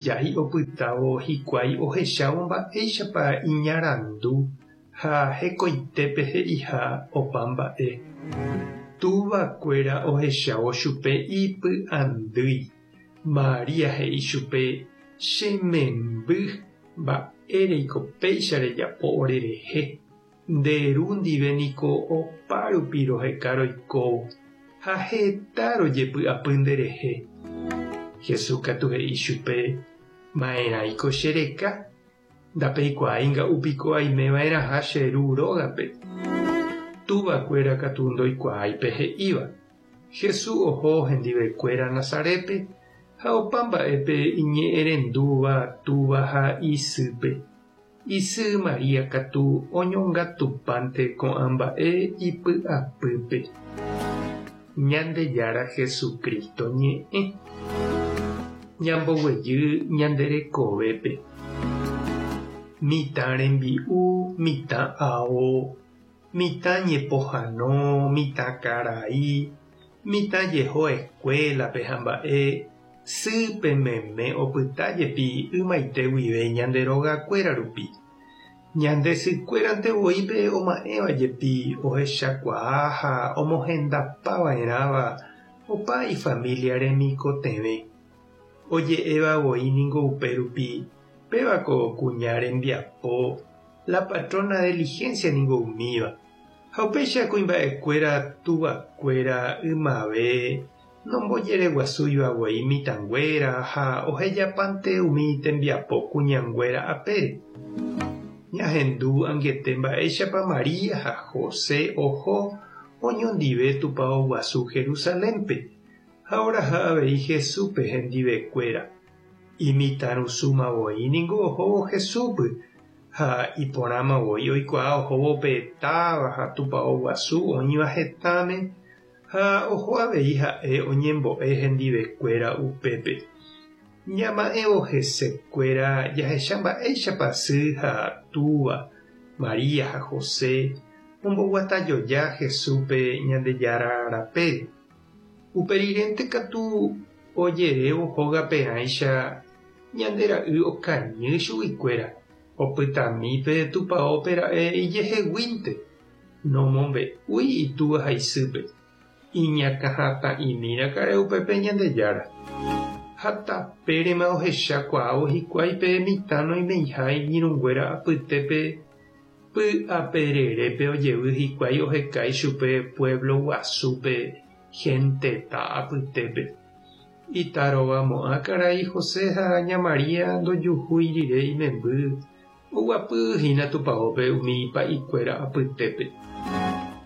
Ijái opytávo hikuái ohechávo mba'éichapa iñarandu ha hekoitépe he'iha opa mba'e. Túva kuéra ohechávo chupe ipy'andýi. María he'i chupe, Che memby, mba'éreiko péicha rejapo orerehe? Nde ru ndive niko opa rupi roheka roikóvo, ha heta rojepy'apy nderehe. Jesús katu he'i chupe, Ma'erãiko che reka? Ndapeikuaái nga'u piko aime va'erãha che ru rógape. Túva kuéra katu ndoikuaái pe he'íva. Jesús oho hendive kuéra Nazarétpe ha opa mba'épe iñe'ẽrendúva túva ha isýpe. Isy María katu oñongatupánte ko'ã mba'e ipy'apýpe. Ñandejára Jesucristo ñe'ẽ. Ñamboguejy ñande rekovépe. Mitã rembi'u, mitã ao, mitã ñepohano, mitã karai, Mitã jeho escuela-pe ha mba'e, sýpe meme opyta jepi ymaite guive ñande rogakuéra rupi. Ñande sykuérante voi pe oma'ẽva jepi ohechakuaa ha omohendapa va'erãva opa ifamilia remikotevẽ. Oje'éva voi ningo upe rupi, péva ko kuña rembiapo, la patrona diligencia ningo umíva. Ha upéicha kuimba'ekuéra tuvakuéra ymave nombojereguasúiva guei mitãnguéra ha ohejapánte umi tembiapo kuñanguéra apére. Ñahendu angete mba'éichapa María ha José oho oñondive tupao guasu Jerusalénpe ha oraha avei Jesúspe hendivekuéra. Imitãrusúma voi ningo ohóvo Jesúspe Ha iporãma voi oikuaa ohóvo pe táva ha tupao guasu oĩva hetãme, ha oho avei ha'e oñembo'e hendivekuéra upépe. Ñama'ẽvo hesekuéra jahecha mba'éichapa sy ha túva, María ha José, omboguatajoja Jesúspe Ñandejára rapére. Upe rirénte katu ojerévo hógape'ãicha Ñande ra'y okañy chuguikuéra, opytami pe tupaópe ra'e ijeheguínte, nomombe'úi itúva ha isýpe, iñakãhatã'imi raka'e upépe Ñandejára. Ha tapérema ohecha kuaávo hikuái pe mitã noimeiha iñirũnguéra apytépe py'apererépe ojevy hikuái oheka ichupe pueblo guasúpe genteta apytépe. Itarovamo'ã karai José ha ña María ndojuhúi rire imemby, oguapy hína tupaópe umi pa'ikuéra apytépe.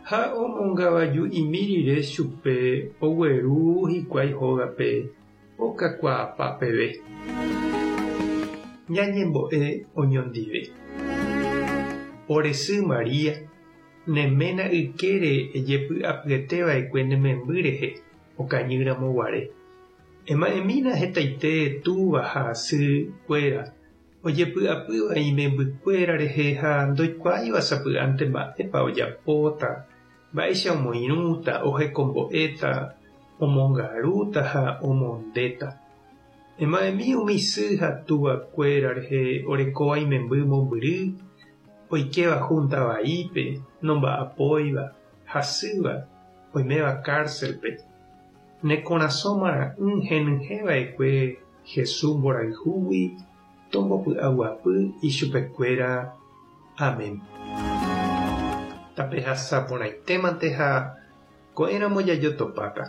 Ha omongavaju'imi rire chupe ogueru hikuái hógape okakuaapa peve. Ñañembo'e oñondive. Ore sy María, ne ména ykére ejepy'apyete va'ekue ne memby rehe. Okañy ramo guare. Ema'ẽmína hetaite túva ha sy kuéra, ojepy'apýva imemby kuéra rehe ha ndoikuaáiva sapy'ánte mba'épa ojapóta, mba'éicha omoirũta, ohekombo'éta, omongarúta ha omondéta. Ema'ẽmi umi sy ha túva kuéra rehe orekóva imemby mombyry, oikéva júnta vaípe, nomba'apóiva, hasýva, oiméva kárselpe. Ne korasõ mara'ỹ henyhẽ va'ekue Jesús mborayhúgui tombopy'aguapy ichupekuéra. Amén. Tapehasa porãitémante ha ko'ẽramo jajotopáta.